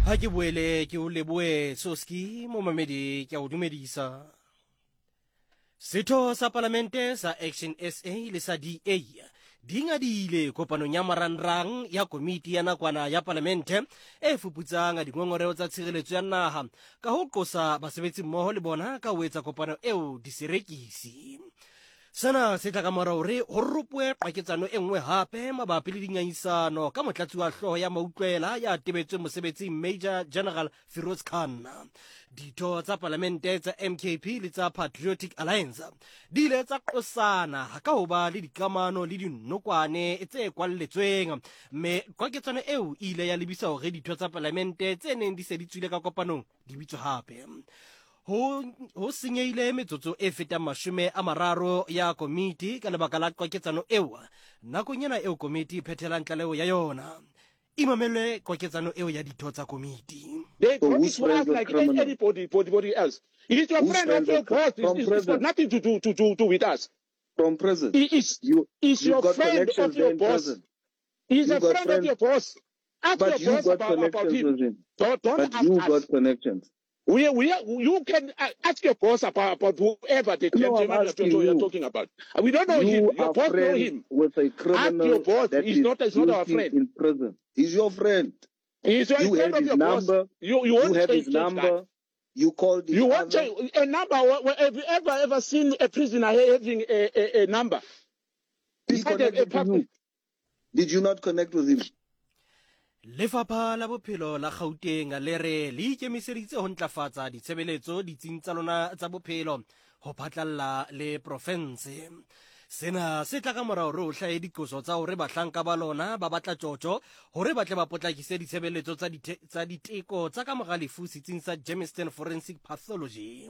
Ha ke boele ke o leboe Soski momamedi ke a o dumedisa. Setho sa palamente sa Action SA le sa DA di ngadile kopanong ya marangrang ya komiti ya nakwana ya palamente e fuputsang dingongoreo tsa tshireletso ya naha ka ho qosa basebetsi mmoho le bona ka ho etsa kopano eo diserekisi. Sena se tla ka mora hore ho ropoe qwaketsano e nngwe hape mabapi le dingangisano ka motlatsi wa hlooho ya mautlwela ya tebetsweng mosebetsing Major General Firoz Khan. Ditho tsa palamente tsa MKP le tsa Patriotic Alliance di ile tsa qosana ka ho ba le dikamano le dinokwane tse kwalletsweng, mme qwaketsano eo e ile ya lebisa hore ditho tsa palamente tse neng di se di tswile ka kopanong di bitswe hape. Ho, ho senyehile metsotso e fetang 30 ya komiti ka lebaka la qwaketsano eo nakong ena eo komiti e phethelang tlaleho ya yona. Imamele qwaketsano eo ya ditho tsa komiti. They So brought it whose to us friends with like criminals? anybody, anybody else. He's your Whose friend friends of your with boss. from It's, it's got prison? nothing to do to with us. From prison. He is You is you've your got friend of connections there your in boss. prison. He's You a got friend of friends, your boss. Ask but your you boss got about connections him. with him. Don't But ask you us. got connections. We you can ask your boss about whoever the No, I'm gentleman asking you're you. talking about. We don't know him. You Your are boss know friends him. with a Ask your criminal boss. that He's is not our guilty friend. in prison. He's your friend. He's a You friend have of his your boss. number. You You won't have his change that. number. You called You each won't other. change a number. Have you ever seen a prisoner having a number? He Beside a connected to public. you. Did you not connect with him? Lefapha la Bophelo la Gauteng le re le ikemiseditse ho ntlafatsa ditshebeletso ditsing tsa lona tsa bophelo ho phatlalla le profense. Sena se tla ka mora hore ho hlahe diqoso tsa hore bahlanka ba lona ba batla tjotjo hore ba tle ba potlakise ditshebeletso tsa diteko tsa ka mora lefu setsing sa Germiston Forensic Pathology.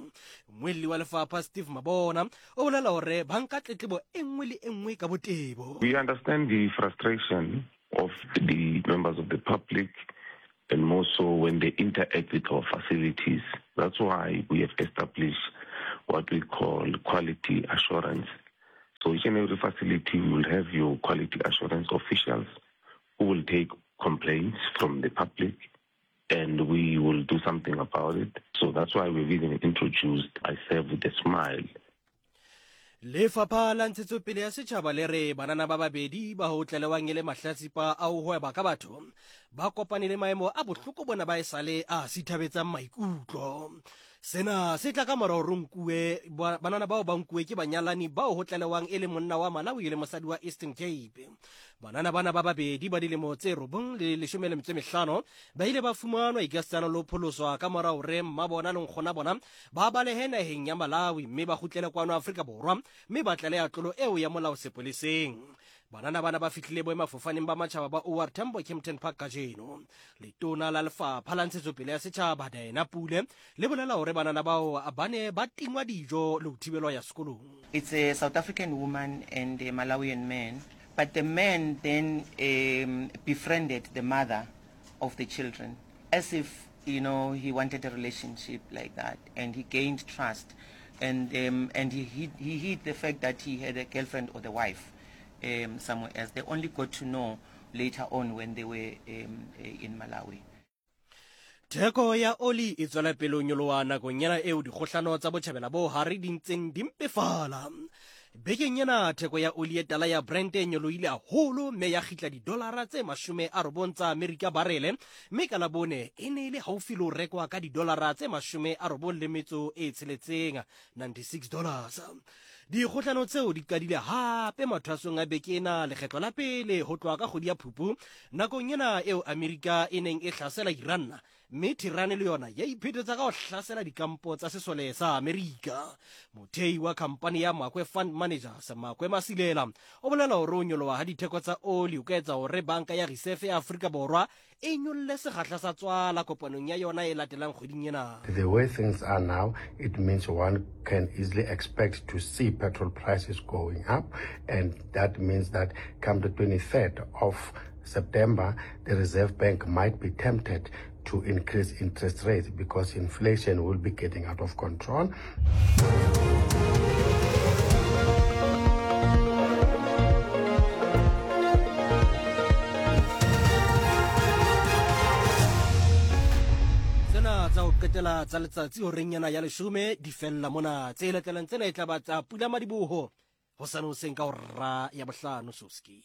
Mmuelli wa lefapha Steve Mabona o bolela hore ba nka tletlebo e nngwe le e nngwe ka botebo. We understand the frustration of the members of the public, and more so when they interact with our facilities. That's why we have established what we call quality assurance. So each and every facility will have your quality assurance officials who will take complaints from the public, and we will do something about it. So that's why we've even introduced I Serve with a Smile. Lefapha la Ntshetsopele ya Setjhaba le re banana ba babedi ba ho tlalewang e le mahlatsipa a ho hweba ka batho ba kopane le maemo a bohloko bona ba esale a sithabetsang maikutlo. Sena se tla ka mora hore nkuwe banana bao ba nkuwe ke banyalani bao ho tlalewang e le monna wa Malawi le mosadi wa Eastern Cape. Banana bana ba babedi ba dilemo tse 9 le 15 ba ile ba fumanwa ikasitana le ho pholoswa ka mora hore mmabona le nkgona bona ba balehe naheng ya Malawi mme ba kgutlele kwano Afrika Borwa mme ba tlaleha tlolo eo ya molao sepoleseng. Banana bana ba fihlile boemafofaneng ba matjhaba ba OR Tambo Kempton Park kajeno. Letona la lefapha la Ntshetsopele ya Setjhaba Diana Pule le bolela hore banana bao ba ne ba tingwa dijo le ho thibelwa ya sekolong. It's a South African woman and a Malawian man, but the man then befriended the mother of the children as if, you know, he wanted a relationship like that, and he gained trust, and he hid the fact that he had a girlfriend or the wife somewhere else. They only got to know later on when they were in Malawi. Theko ya oli e tswela pele ho nyoloha nakong ena eo dikgohlano tsa botjhabela bo hare di ntseng di mpefala. Bekeng ena theko ya oli e tala ya Brent e nyolohile haholo mme ya kgitla didolara tse 90 tsa Amerika barele, mme ka Labone e ne e le haufi le ho rekwa ka didolara tse 96, $96. Dikgohlano tseo di qadile hape mathwasong a beke ena lekgetlo la pele ho tloha ka kgwedi ya Phupu nakong ena eo Amerika e neng e hlasela Iran, mme Tehran le yona ya iphetetsa ka ho hlasela dikampo tsa sesole sa Amerika. Mothei wa khampani ya Makwe Fund Managers, Makwe Masilela, o bolela hore ho nyoloha ha ditheko tsa oli ho ka etsa hore Banka ya Reserve ya Afrika Borwa e nyolle sekgahla sa tswala kopanong ya yona e latelang kgweding ena. The way things are now, it means one can easily expect to see petrol prices going up, and that means that come the 23rd of September, the Reserve Bank might be tempted to increase interest rates because inflation will be getting out of control. Ditaba tsa ho qetela tsa letsatsi horeng yana ya leshome di fella mona. Tse latelang tsena e tla ba tsa pula madiboho hosane hoseng ka hora ya bohlano soski.